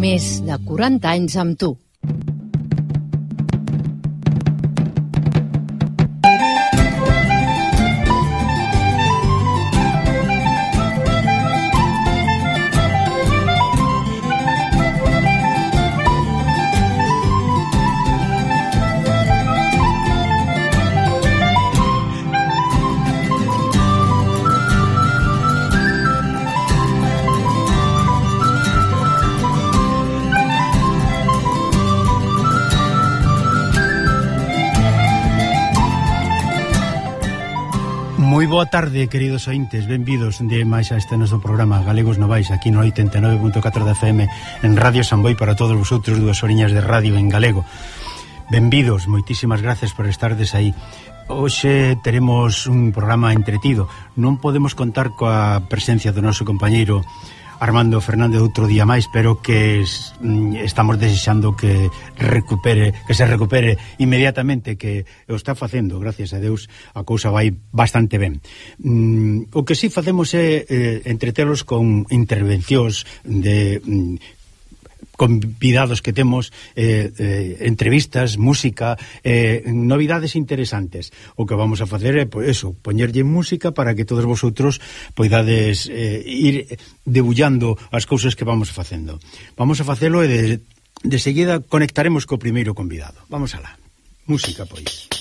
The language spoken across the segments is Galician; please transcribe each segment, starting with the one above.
Més de 40 anys amb tu. Moi boa tarde, queridos ointes, benvidos de máis a este noso programa Galegos Novais, aquí no 89.4 da FM en Radio Samboy para todos vosotros, 2 horiñas de radio en galego. Benvidos, moitísimas gracias por estardes aí. Hoxe teremos un programa entretido. Non podemos contar coa presencia do noso compañeiro Armando Fernández outro día máis, pero que estamos desexando que se recupere inmediatamente, que o está facendo, gracias a Deus, a cousa vai bastante ben. O que si facemos é entretelos con intervencións de convidados que temos, entrevistas, música, novidades interesantes. O que vamos a facer é, pois, eso, poñerlle música para que todos vosotros poidades ir debullando as cousas que vamos facendo. Vamos a facelo e de seguida conectaremos co primeiro convidado. Vamos alá. Música, pois.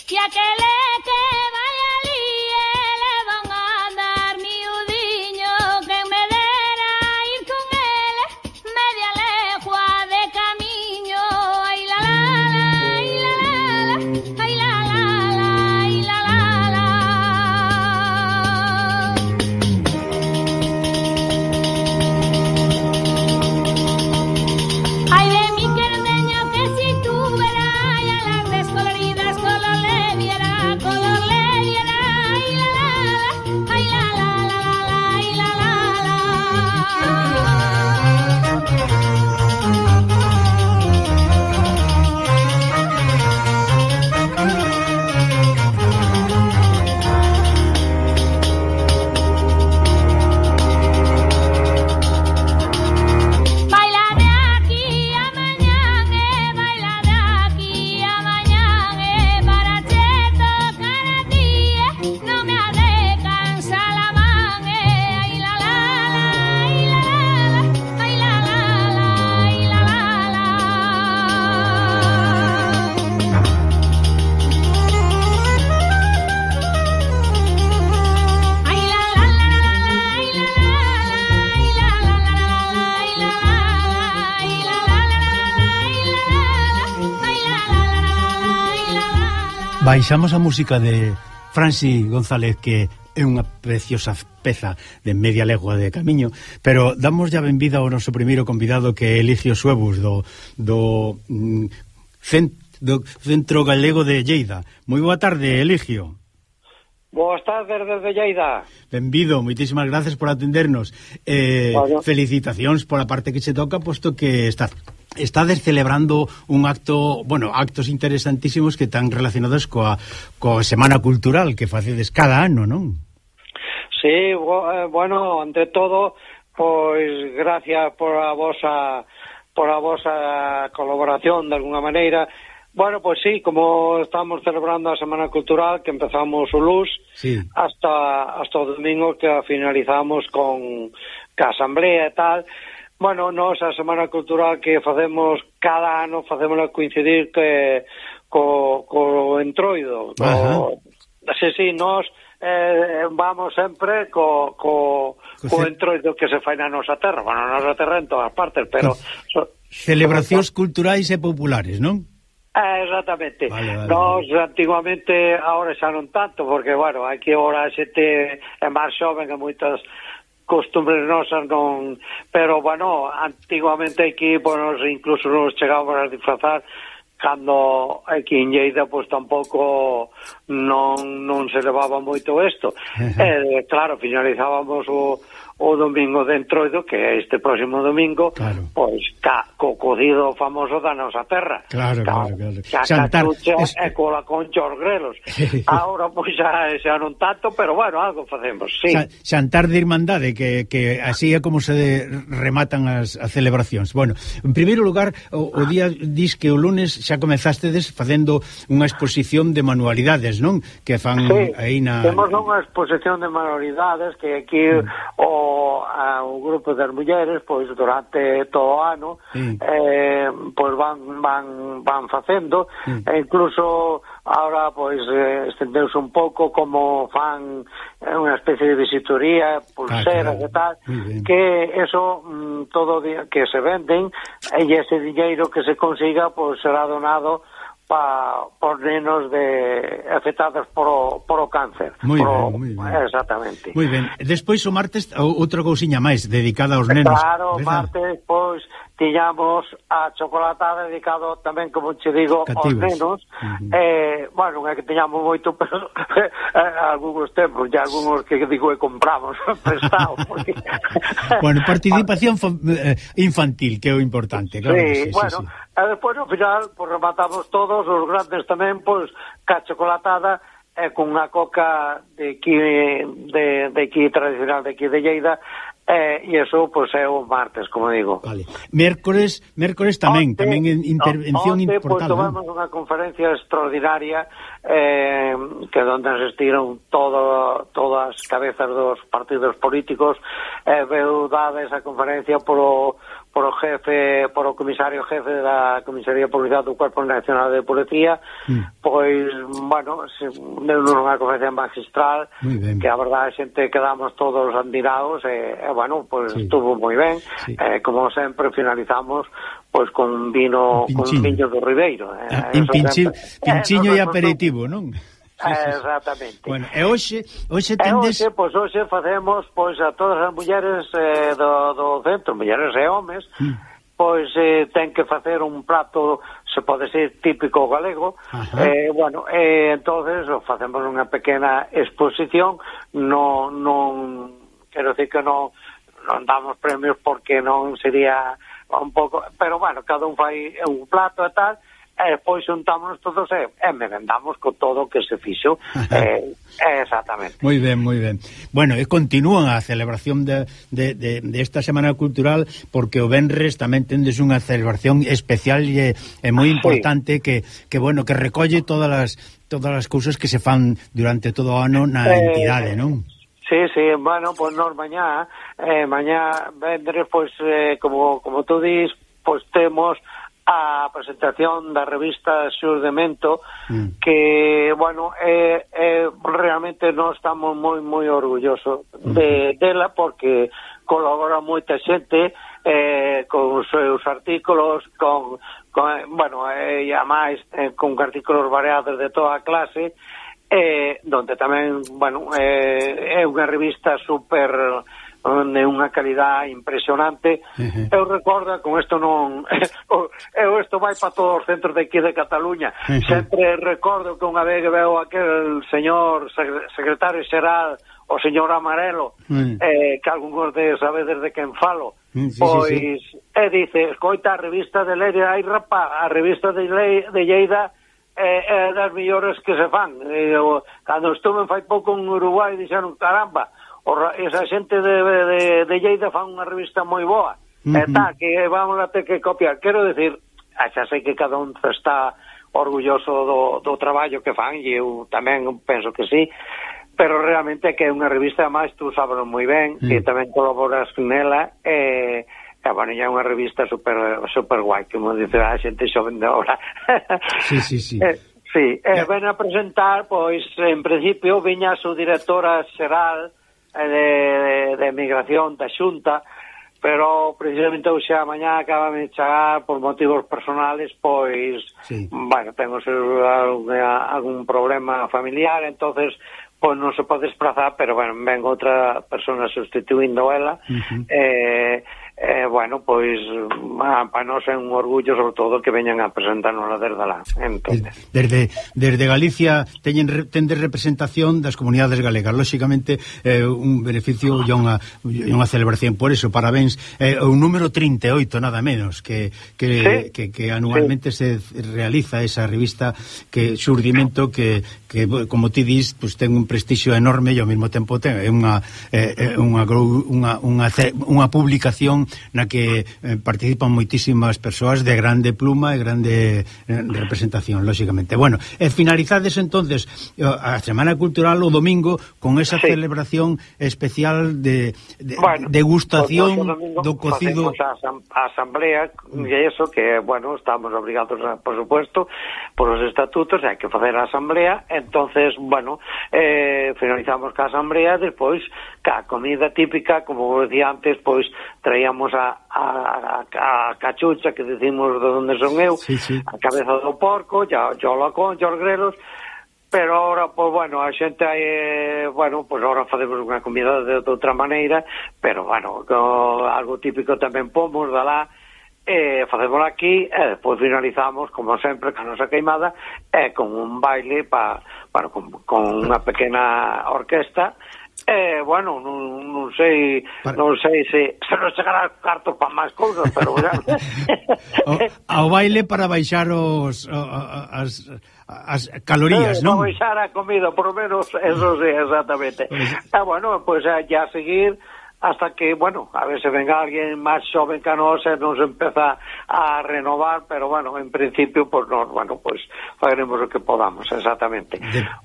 Y aquele que vai ali ele van a andar miudiño, que me dera ir con ele media legua de camiño. Ay la la la, ay la la la, ay la la la, ay la la la. Ay de mi querdeño, que si tú verás ya las descoloridas color le viera, ay la la la, ay la la la la, ay la la la. Baila de aquí a mañana, baila de aquí a mañana, para che tocar a ti, no me ha de cansar la mano. Ay la la la, ay la la la, ay la la la, ay la la la. Ay la la la la, ay la la la, ay la la la la, ay la la la, ay la la la la, ay la la la la, ay la la la. Baixamos a música de Franci González, que é unha preciosa peza de media legua de camiño, pero damos ya benvida ao noso primeiro convidado, que é Eligio Suebus do Centro Galego de Lleida. Moi boa tarde, Eligio. Boas tardes desde Lleida. Benvido, moitísimas gracias por atendernos. Bueno. Felicitacións pola parte que se toca, posto que estades celebrando un acto, bueno, actos interesantísimos que están relacionados coa Semana Cultural que facedes cada ano, non? Sí, bueno, ante todo, pois gracias por a vosa colaboración de alguna maneira. Bueno, pues sí, como estamos celebrando a Semana Cultural, que empezamos o luns, sí, hasta o domingo que finalizamos con a asamblea e tal. Bueno, nos a Semana Cultural que facemos cada ano, facémola coincidir que co entroido. Sí, nos vamos sempre co entroido que se fai na nosa terra. Bueno, na nosa terra en todas partes, pero celebracións culturais e populares, non? Exactamente. Vale. Nos antiguamente, ahora xa non tanto, porque, bueno, aquí ahora a xente é máis xoven e moitas costumbres nosas non... Pero, bueno, antiguamente aquí, bueno, incluso nos chegábamos a disfrazar cando aquí en Lleida, pois tampouco non se levaba moito isto. Claro, finalizábamos o domingo de Entroido, que é este próximo domingo, claro. Pois co cocido famoso da nosa terra. Claro. Xantar e cola con os grelos. Ahora pois xa non tanto, pero bueno, algo facemos, sí. Xantar de Irmandade, que así é como se rematan as celebracións. Bueno, en primeiro lugar, o día dis que o lunes xa comezastedes facendo unha exposición de manualidades, non? Que fan aí na... Temos unha exposición de manualidades que aquí o grupo das mulleres, pois durante todo o ano, pois van facendo, e incluso ahora pois estendeuse un pouco como fan unha especie de visitoría, pulseras e tal, que eso todo día que se venden, e ese dinheiro que se consiga pois será donado por nenos afectados por o cáncer. Moi ben. Exactamente. Moi ben. Despois o martes outra cousiña máis dedicada aos nenos. Claro, o martes pois tiñamos a chocolatada dedicado tamén, como che digo, aos nenos. Bueno, non é que tiñamos moito, pero algúns tempos, e algúns que digo que compramos prestado. Porque... Bueno, participación infantil, que é o importante. Claro, sí, bueno, e despois ao final pues, rematamos todos os grandes tamén, pois, ca chocolatada con unha coca de aquí tradicional de aquí de Lleida, e iso pois é o martes, como digo. Vale. Mércores tamén intervención importante. Pois tomamos unha conferencia extraordinaria que onde asistiron todas as cabezas dos partidos políticos, veu dada esa conferencia por o comisario jefe da Comisaría Policial do Cuerpo Nacional de Policía, pois, bueno, deu unha conferencia magistral, que a verdade a xente quedamos todos admirados, bueno, pois estuvo moi ben, como sempre finalizamos pois con vino do Ribeiro. Pinchiño e aperitivo, non? Exactamente. Bueno, e hoxe tendes... Hoxe facemos pois a todas as mulleres do centro, mulleres e homes, pois ten que facer un prato, se pode ser típico galego. Bueno, entonces facemos unha pequena exposición, non quero decir que non damos premios porque non sería un pouco, pero bueno, cada un fai un plato e tal, e depois xuntámonos todos e merendamos con todo o que se fixo. Exactamente. Moi ben. Bueno, e continúan a celebración de esta Semana Cultural, porque o venres tamén tendes unha celebración especial e moi importante que bueno, que recolle todas as cousas que se fan durante todo o ano na entidade, non? Sí, bueno, pois nos mañá vendres, pois, como tú dis, pois temos a presentación da revista Xur de Mento, que, bueno, realmente nós estamos moi orgullosos dela, porque colabora moita xente con os seus artículos, bueno, e a máis con artículos variados de toda a clase, donde tamén, bueno, é unha revista super de unha calidad impresionante. Eu recordo, con isto non isto vai para todos os centros de aquí de Cataluña, sempre recordo que unha vez que veo aquel señor secretario xeral, o señor Amarelo, que algúns de sabedes de quen falo, pois dice, escoita, a revista de Leire, ai rapaz, a revista de Lleida é das mellores que se fan. Cando estuve fai pouco en Uruguai, dixeron, caramba, esa xente de Lleida fan unha revista moi boa, que vamos a ter que copiar. Quero decir, xa sei que cada un está orgulloso do traballo que fan, e eu tamén penso que sí, pero realmente que é unha revista, máis tú sabes moi ben, que tamén colaboras nela, bueno, é unha revista super guai, como dice a xente xoven de ahora. Sí. Sí, ven a presentar, pois, en principio, viña a súa directora xeral de Migración da Xunta, pero precisamente hoxe a mañá acaba de chegar por motivos personales, pois, bueno, tengo algún problema familiar, entonces pois non se pode desplazar, pero bueno, ven outra persona sustituindo ela, bueno, pois para nós é un orgullo sobre todo que veñan a presentarnos desde lá. Entonces, desde Galicia tendes representación das comunidades galegas, lóxicamente un beneficio e unha celebración, por eso parabéns, o número 38 nada menos que anualmente se realiza esa revista, que xurdimento que como ti dis, pues ten un prestixio enorme e ao mesmo tempo ten unha publicación na que participan moitísimas persoas de grande pluma e grande representación, lóxicamente. Bueno, finalizades entonces a Semana Cultural o domingo con esa celebración especial de degustación do cocido. Facemos a asamblea e eso que, bueno, estamos obrigados por supuesto, por os estatutos, hai que facer a asamblea. Entonces, bueno, finalizamos ca asamblea, despois ca comida típica, como decía antes, pois traíamos a cachucha, que decimos de onde son eu, a cabeza do porco, yo la concha, os grelos, pero ahora, pues bueno, a xente bueno, pues ahora facemos unha comida de outra maneira, pero bueno, algo típico tamén pomos de lá, facemos aquí, e despois finalizamos, como sempre, ca nosa queimada, con un baile con unha pequena orquesta. Bueno, non sei se nos chegará cartos para máis cousas, pero ao baile para baixar as calorías, non? Para baixar a comida, por lo menos, eso sí, exactamente. Bueno, pues ya a seguir hasta que, bueno, a ver se venga alguén máis xoven que a nos e nos empeza a renovar, pero bueno, en principio, pues nos, bueno, pues faremos o que podamos, exactamente.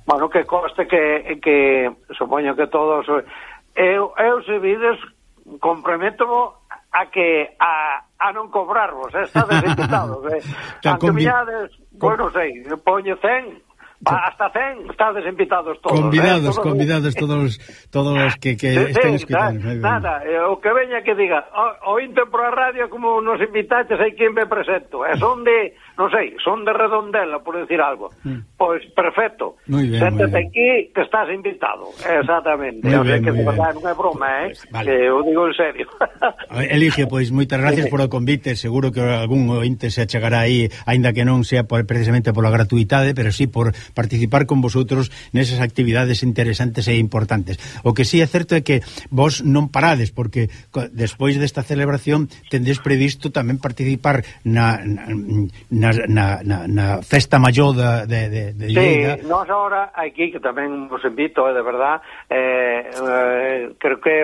Bueno, que coste que supoño que todos eu se vides comprometo a non cobrarvos, estades invitados, aunque miñades, bueno, sei, poño 100, hasta 100, estades invitados todos. Convidados todos os que estén escutando. Nada, o que veña que diga, oínte por a radio como nos invitaches, hai quen me presento, son de, non sei, son de Redondela, por decir algo. Pois perfecto, séntate aquí que estás invitado, exactamente. O sea que de verdade non é broma, que eu digo en serio. Elige, pois moitas gracias por o convite, seguro que algún ointe se achegará aí, aínda que non sea precisamente pola gratuidade, pero sí por participar con vosotros nesas actividades interesantes e importantes. O que sí é certo é que vos non parades, porque despois desta celebración tendes previsto tamén participar na festa maior de Lleida. Sí, nós agora aquí, que tamén vos invito, de verdad, creo que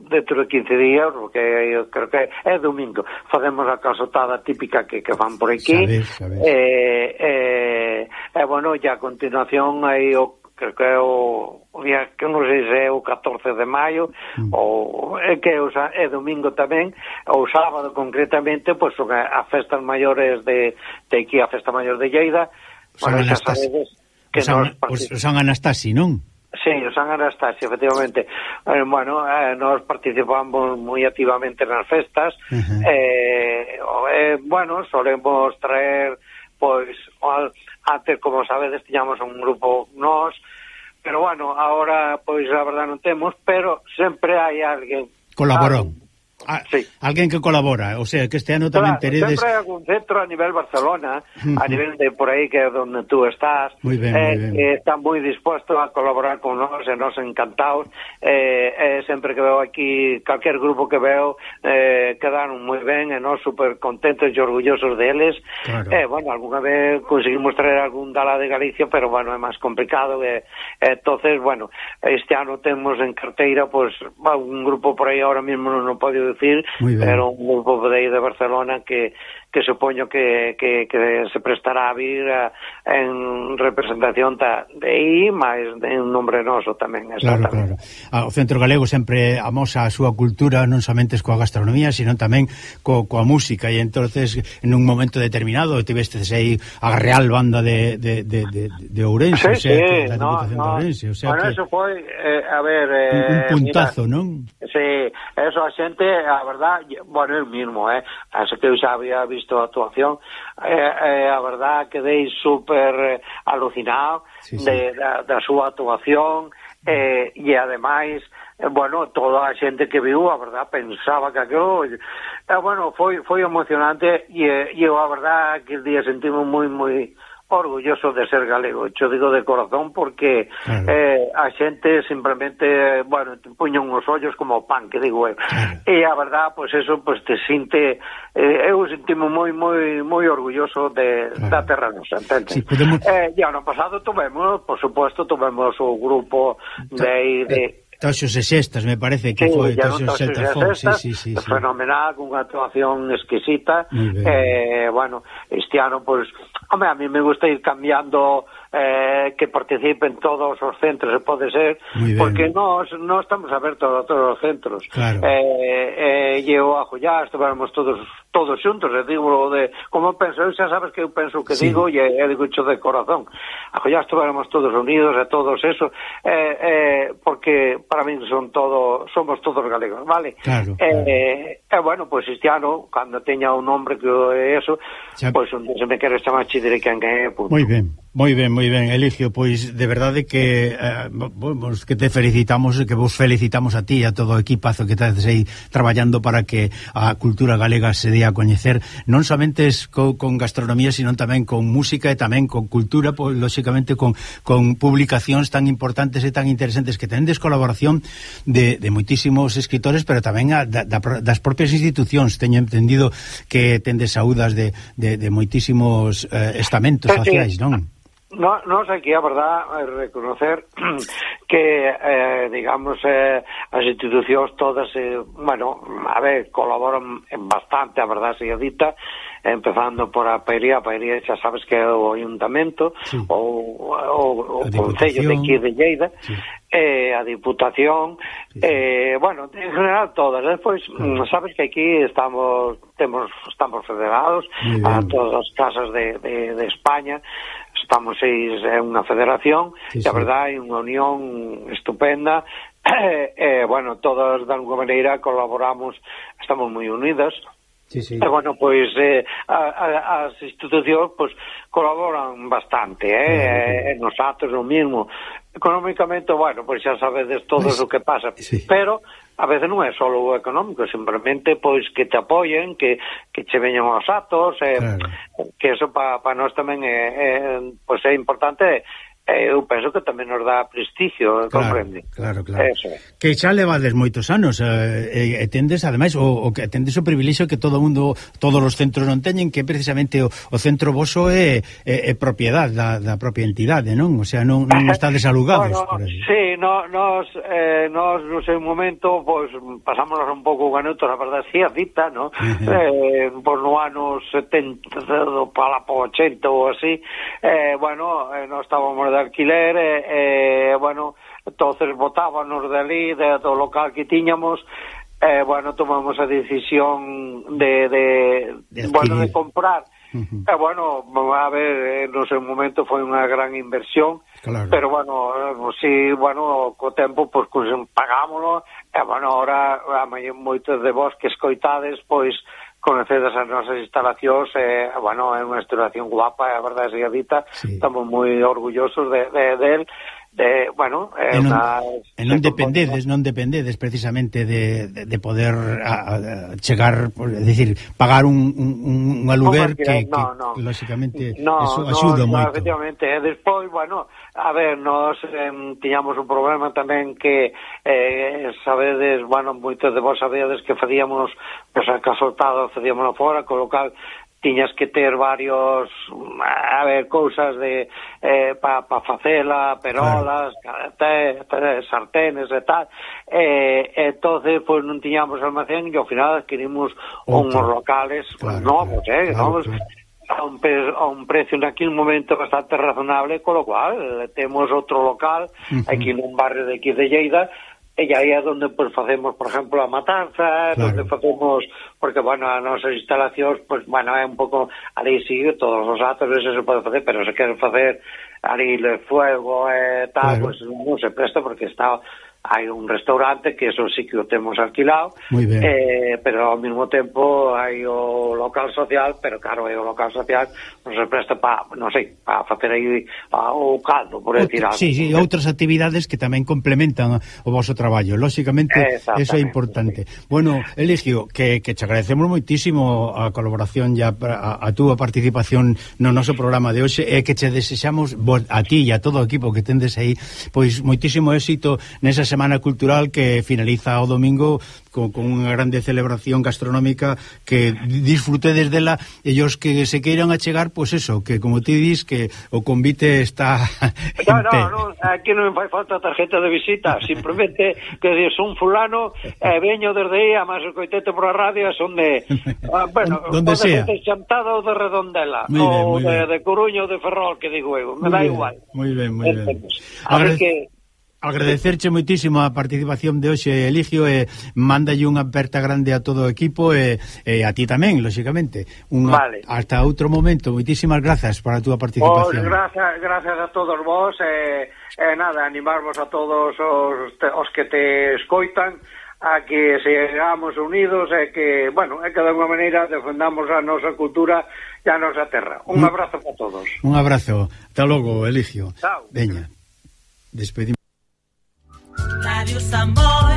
dentro de 15 días, porque eu creo que é domingo, facemos a calzotada típica que fan por aquí. Sabes. Bueno, ya a continuación aí creo que é o día que non sei se é o 14 de maio ou que é domingo tamén, ou sábado concretamente, pois son as festas maiores de aquí, a festa maior de Lleida. Bueno, xa sabedes que o San Anastasi, non? Sí, o San Anastasi, efectivamente. Bueno, nos participamos moi activamente nas festas. Bueno, solemos traer, pois, antes, como sabedes, tiñamos un grupo nós, pero bueno, ahora, pois, a verdade non temos, pero sempre hai alguén. Colaborou. Alguén que colabora, o sea, que este ano tamén teredes... Sempre hai algún centro a nivel Barcelona, a nivel de por aí que é onde tú estás, que está moi dispuesto a colaborar con nós, e nos encantados, sempre que veo aquí, calquer grupo que veo, quedaron moi ben, e nos super contentos e orgullosos deles. Bueno, alguna vez conseguimos traer algún dala de Galicia, pero bueno, é máis complicado, entonces, bueno, este ano temos en carteira, pues, un grupo por aí ahora mismo non o podo decir, pero un grupo de aí de Barcelona que supoño que se prestará a vir en representación de aí, máis de un nombre noso tamén, exactamente. Claro. O Centro Galego sempre amosa a súa cultura, non somente coa gastronomía, sino tamén coa música, e entonces en un momento determinado tivestes aí a Real Banda de Ourense, da Diputación de Ourense, o sea, bueno, eso foi, a ver... un puntazo, mira, non? Sí, eso a xente, a verdad, bueno, el mismo, así que eu xa había visto a actuación, a verdad quedei super alucinado da súa actuación, e ademais bueno, toda a xente que viu, a verdad, pensaba que aquilo bueno, foi emocionante e eu a verdad que el día sentimos moi orgulloso de ser galego, yo digo de corazón porque a xente simplemente, bueno, te puñan os ollos como pan, que digo eu. E a verdad, pois eso, pois te sinte eu sentimo moi orgulloso da terra nosa, entende? Sí, podemos... e ano pasado tuvemos, por supuesto, tuvemos o grupo de Toxos e Xestas, me parece que foi Toxos e Xestas, sí. Fenomenal, unha actuación exquisita. Bueno, este ano, pois, home, a mí me gusta ir cambiando que participen todos os centros, se pode ser, porque nós estamos abertos a todos os centros. Claro. E eu a Jollá estivemos todos xuntos, e digo de como penso, xa sabes que eu penso que digo, e digo xo de corazón. A Jollá estivemos todos unidos, e todos eso, porque para min somos todos galegos, vale? Claro. Bueno, pois este ano, cando teña un nombre que é eso, pois se me queres chamar che direi quen é, punto. Moi ben, Eligio, pois de verdade que que te felicitamos, que vos felicitamos a ti e a todo o equipazo que estás aí traballando para que a cultura galega se dé a coñecer, non somente con gastronomía, sino tamén con música e tamén con cultura, pois lóxicamente con publicacións tan importantes e tan interesantes que tendes colaboración de moitísimos escritores, pero tamén das propias institucións. Teño entendido que tendes saúdas de moitísimos estamentos sociais, non? Nos aquí, a verdad, reconocer que, digamos, as institucións todas, bueno, a ver, colaboran bastante, a verdad, se dita, empezando por a Pairía xa sabes que é o Ayuntamento, o Concello de aquí de Lleida, a Diputación, bueno, en general todas. Despois, sabes que aquí estamos federados a todas as casas de España, estamos unha federación, e a verdade é unha unión estupenda, bueno, todas de alguma maneira colaboramos, estamos moi unidas. E bueno, pois as institucións pois colaboran bastante, nos actos o mismo. Económicamente, bueno, pois xa sabedes todos o que pasa, pero a veces non é só o económico, simplemente pois que te apoyen, que che veñan aos actos, que eso para nós tamén pois é importante. Eu penso que tamén nos dá prestigio, comprende? Claro. Que xa levades moitos anos e tendes, ademais, o que tendes o privilexio que todo o mundo, todos os centros non teñen, que precisamente o centro voso é propiedade da propia entidade, non? O sea, non estades alugados. Sí, nos no seu momento, pois, pasámonos un pouco ganutos, a verdade, sí, a dita, non? Pois no ano 70, para po 80 ou así, bueno, non estábamos de alquiler, bueno, entonces botábanos de ali, do local que tiñamos, bueno, tomamos a decisión de comprar. Bueno, a ver, no seu momento foi unha gran inversión, pero bueno, si, bueno, co tempo, pois, pagámoslo, e bueno, ahora, moitos de vos que escoitades, pois, conocedas as nosas instalacións, bueno, é unha instalación guapa, a verdade se dita, estamos moi orgullosos de bueno, non dependedes precisamente de poder chegar, é dicir, pagar un aluguer que lógicamente eso axuda moito. Efectivamente, e despois, bueno, a ver, nos tiñamos un problema tamén que sabedes, bueno, moitos de vos sabedes que facíamos, pois, a casoltado facíamos fora, co local tiñas que ter varios, a ver, cousas de para facela, perolas, sartenes e tal, entonces, pois, non tiñamos almacén e ao final adquirimos uns locales novos, novos, a un precio naquele momento bastante razonable, con lo cual temos outro local aquí nun barrio de aquí de Lleida, e aí é onde pues, facemos, por exemplo, a matanza, onde facemos, porque, bueno, as nosas instalacións, pues, bueno, é un pouco, ali sigue todos os actos, eso se pode facer, pero se queren facer ali el fuego e tal, pues non se presta porque está hai un restaurante que eso sí que o temos alquilado, pero ao mesmo tempo hai o local social, pero claro, o local social non se presta para, non sei, para facer aí o caldo, por decir algo. Sí, outras actividades que tamén complementan o vosso traballo, lóxicamente, eso é importante. Sí. Bueno, Eligio, que te agradecemos moitísimo a colaboración e a túa participación no noso programa de hoxe, e que te desexamos a ti e a todo o equipo que tendes aí, pois moitísimo éxito nesa Semana Cultural que finaliza o domingo con unha grande celebración gastronómica, que disfrutedes dela, e os que se queiran achegar, pois eso, que como ti dis, que o convite está no, aquí non me fai falta tarjeta de visita, simplemente que dis un fulano veño desde aí, a máis coitete por a radio, son de donde sea, de Chantada ou de Redondela, ou de Coruña ou de Ferrol, que digo eu, me dá igual. Moi ben. Agradecerche moitísimo a participación de hoxe, Eligio, e mándalle unha aperta grande a todo o equipo e a ti tamén, lóxicamente. Hasta outro momento, moitísimas grazas para a túa participación. Gracias a todos vos, nada, animarvos a todos os que te escoitan a que sigamos unidos e que, bueno, que de alguma maneira defendamos a nosa cultura e a nosa terra. Un abrazo para todos. Un abrazo. Hasta logo, Eligio. Chao. Veña, despedimos. Radio Samboy.